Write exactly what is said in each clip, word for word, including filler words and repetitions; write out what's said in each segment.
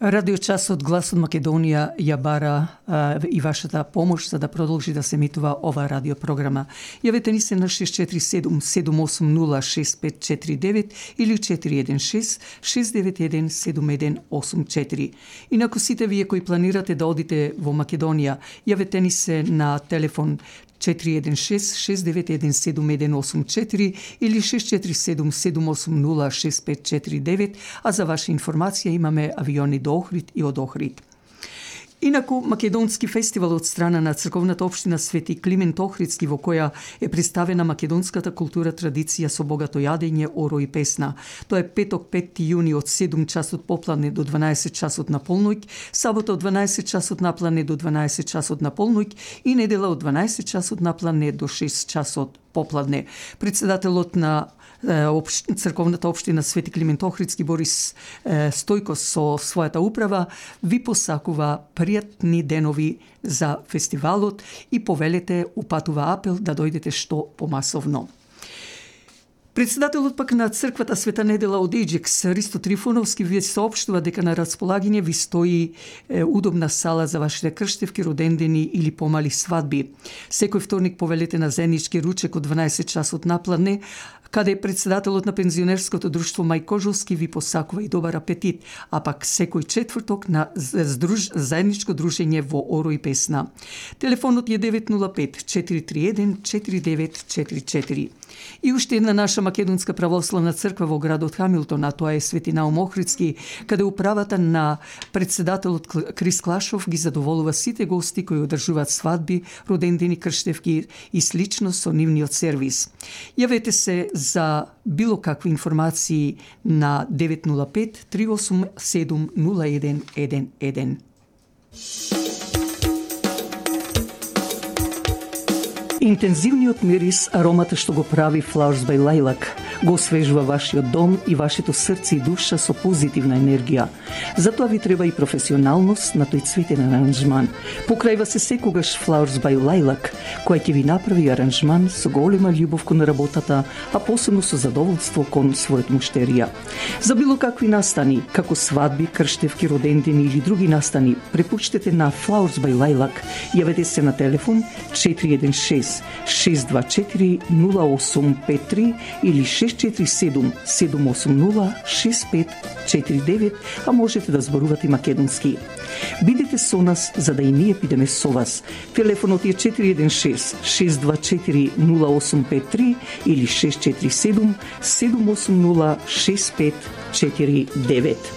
Радиочасот Глас од Македонија ја бара а, и вашата помош за да продолжи да се емитува оваа радиопрограма. Јавете ни се на шест четири седум седум осум нула шест пет четири девет или четири еден шест шест девет еден седум еден осум четири. Инаку сите вие кои планирате да одите во Македонија, јавете ни се на телефон четири еден шест шест девет еден седум еден осум четири или шест четири седум седум осум нула шест пет четири девет, а за ваша информација имаме авиони до Охрид и од Охрид. Инаку, македонски фестивал од страна на црковната општина Свети Климент Охридски, во која е представена македонската култура, традиција со богато јадење, оро и песна. Тоа е петок петти јуни од седум часот попладне до дванаесет часот на полноќ, сабота од дванаесет часот напладне до дванаесет часот на полноќ и недела од дванаесет часот напладне до шест часот попладне. Председателот на црковната општина Свети Климент Охридски Борис Стојко со својата управа ви посакува пријатни денови за фестивалот и повелете, упатува апел да дојдете што помасовно. Председателот пак на црквата Света Недела од Еџекс, Ристо Трифоновски, ви соопштува дека на располагање ви стои е, удобна сала за вашите крштевки, родендени или помали свадби. Секој вторник повелете на заеднички ручек од дванаесет часот напладне, каде председателот на пензионерското друштво Мај Кожовски ви посакува и добар апетит, а пак секој четврток на здруж... заедничко дружење во оро и песна. Телефонот е девет нула пет четири три еден четири девет четири четири. И уште една наша македонска православна црква во градот Хамилтон, а тоа е Свети Наум Охридски, каде управата на председателот Крис Клашов ги задоволува сите гости кои одржуваат свадби, родендени, крштевки и слично со нивниот сервис. Јавете се за било какви информации на девет нула пет три осум седум нула еден еден еден. Интензивниот мирис, аромата што го прави Flowers by Lilac, го освежува вашиот дом и вашето срце и душа со позитивна енергија. Затоа ви треба и професионалност на тој цветен аранжман. Покрајва се секогаш Flowers by Lilac, која ќе ви направи аранжман со голема љубов кон работата, а посебно со задоволство кон својот муштерија. За било какви настани, како свадби, крштевки, родендени или други настани, препуштете на Flowers by Lilac. Јавете се на телефон четири еден шест шест два четири нула осум пет три или шест четири седум седум осум нула шест пет четири девет, а можете да зборувате македонски. Бидете со нас за да и ние бидеме со вас. Телефонот е четири еден шест шест два четири нула осум пет три или шест четири седум седум осум нула шест пет четири девет.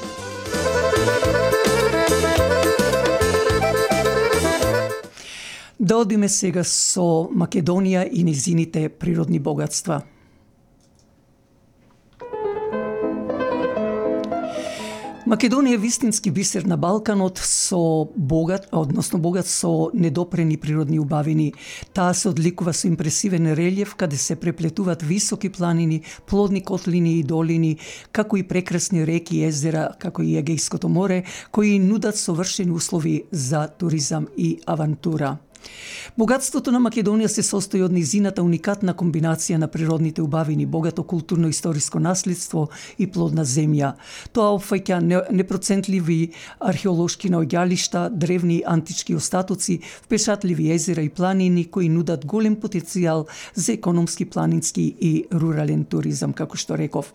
Да одиме сега со Македонија и незините природни богатства. Македонија е вистински бисер на Балканот со богат, односно богат со недопрени природни убавини. Таа се одликува со импресивен релјеф каде се преплетуваат високи планини, плодни котлини и долини, како и прекрасни реки и езера, како и Егејското море, кои нудат совршени услови за туризам и авантура. Богатството на Македонија се состои од низината уникатна комбинација на природните убавини, богато културно-историско наследство и плодна земја. Тоа опфаќа непроцентливи археолошки наоѓалишта, древни антички остатоци, впечатливи езера и планини кои нудат голем потенцијал за економски, планински и рурален туризам, како што реков.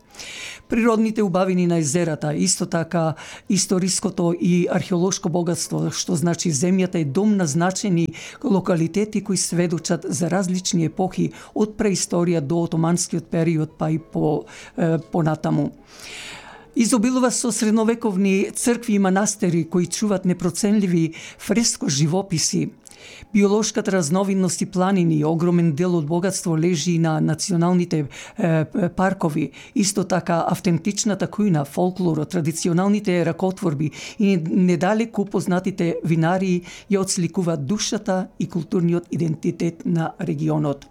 Природните убавини на езерата, исто така историското и археолошко богатство, што значи земјата е дом на значени локалитети кои сведочат за различни епохи од преисторија до отоманскиот период па и по е, понатаму. Изобилува со средновековни цркви и манастери кои чуват непроценливи фреско живописи. Биолошката разновидност и планини, огромен дел од богатство лежи на националните е, паркови, исто така автентичната кујна, фолклорот, традиционалните ракотворби и недалеку познатите винарии ја отсликуваат душата и културниот идентитет на регионот.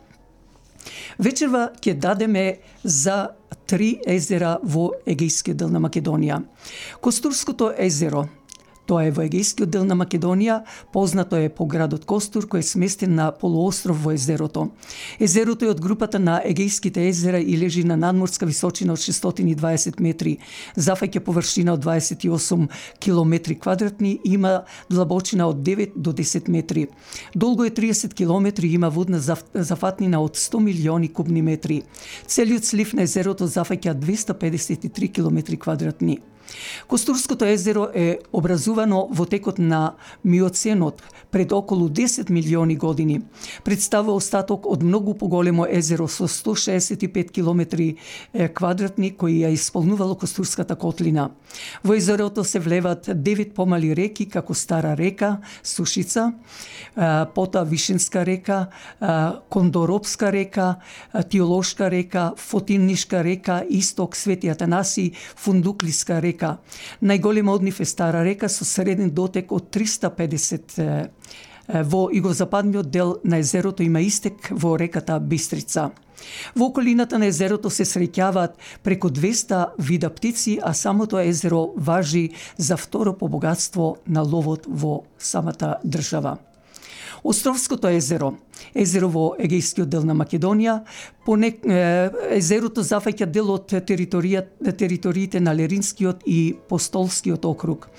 Вечерва ќе дадеме за три езера во Егејскиот дел на Македонија. Костурското езеро, Тоа е во егејскиот дел на Македонија, познато е по градот Костур, кој е сместен на полуостров во езерото. Езерото е од групата на егејските езера и лежи на надморска височина од шестстотини и дваесет метри, зафаќа површина од дваесет и осум километри квадратни и има длабочина од девет до десет метри. Долго е триесет километри и има водна зафатнина од сто милиони кубни метри. Целиот слив на езерото зафаќа двесте педесет и три километри квадратни. Костурското езеро е образувано во текот на Миоценот пред околу десет милиони години. Представува остаток од многу поголемо езеро со сто шеесет и пет километри квадратни кои ја исполнувало Костурската котлина. Во езерото се влеват девет помали реки како Стара река, Сушица, потоа Вишенска река, Кондоропска река, Тиолошка река, Фотиннишка река, Исток, Свети Атанаси, Фундуклиска река. Најголема од нив е Стара река со среден дотек од триста педесет. Во југозападниот дел на езерото има истек во реката Бистрица. Во околината на езерото се среќаваат преку двесте вида птици, а самото езеро важи за второ по богатство на ловот во самата држава. Островското езеро, езеро во егејскиот дел на Македонија, понек, езерото зафаќа дел од териториите на Леринскиот и Постолскиот округ.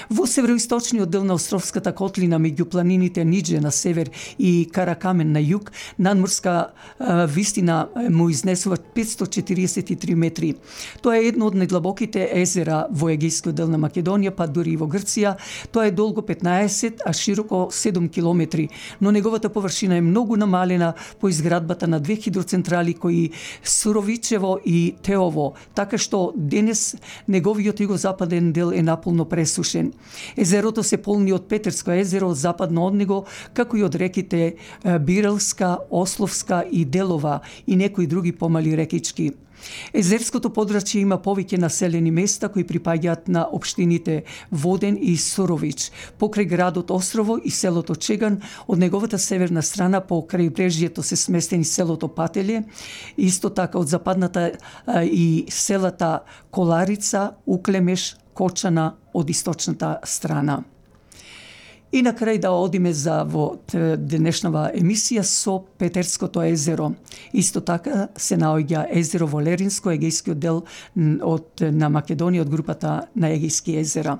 Во североисточниот дел на Островската котлина меѓу планините Нидже на север и Каракамен на југ, надморска вистина му изнесува петстотини четириесет и три метри. Тоа е едно од најдлабоките езера во егејскиот дел на Македонија, па дури и во Грција. Тоа е долго петнаесет, а широко седум километри, но неговата површина е многу намалена по изградбата на две хидроцентрали кои Суровичево и Теово, така што денес неговиот југозападен дел е наполно пресушен. Езерото се полни од Петерско езеро, западно од него, како и од реките Бирелска, Ословска и Делова и некои други помали рекички. Езерското подрачје има повеќе населени места кои припаѓаат на општините Воден и Сурович, покрај градот Острово и селото Чеган. Од неговата северна страна по крајбрежјето се сместени селото Пателје, исто така од западната и селата Коларица, Уклемеш, Кочана од источната страна. И на крај да одиме за во денешнава емисија со Петерското езеро. Исто така се наоѓа езеро во Леринско, егејскиот дел од на Македонија од групата на егејски езера.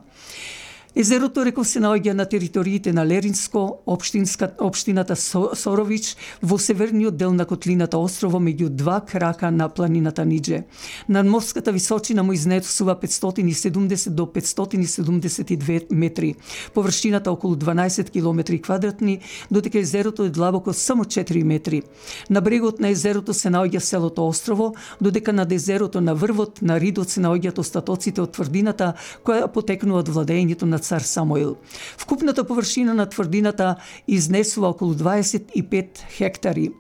Езерото, реков, се наоѓа на териториите на Леринско, општинска, општината Сорович, во северниот дел на котлината Острово, меѓу два крака на планината Нидже. Надморската височина му изнесува петстотини и седумдесет до петстотини и седумдесет и две метри. Површината околу дванаесет километри квадратни, додека езерото е длабоко само четири метри. На брегот на езерото се наоѓа селото Острово, додека над езерото на врвот на Ридот се наоѓаат остатоците од тврдината која потекнува од владењето на цар Самуил. Вкупната површина на тврдината изнесува околу дваесет и пет хектари.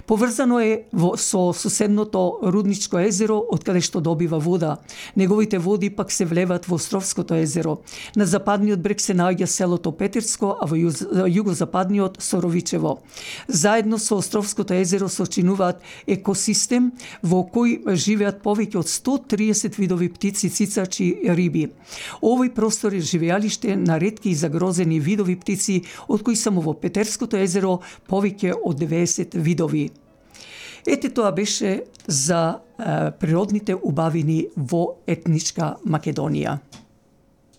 Поврзано е во, со соседното Рудничко езеро, од каде што добива вода. Неговите води пак се влеват во Островското езеро. На западниот брег се наоѓа селото Петерско, а во југозападниот Соровичево. Заедно со Островското езеро сочинуваат екосистем во кој живеат повеќе од сто триесет видови птици, цицачи, риби. Овој простор е живеалиште на ретки и загрозени видови птици, од кои само во Петерското езеро повеќе од деветдесет видови. Ете, тоа беше за е, природните убавини во етничка Македонија.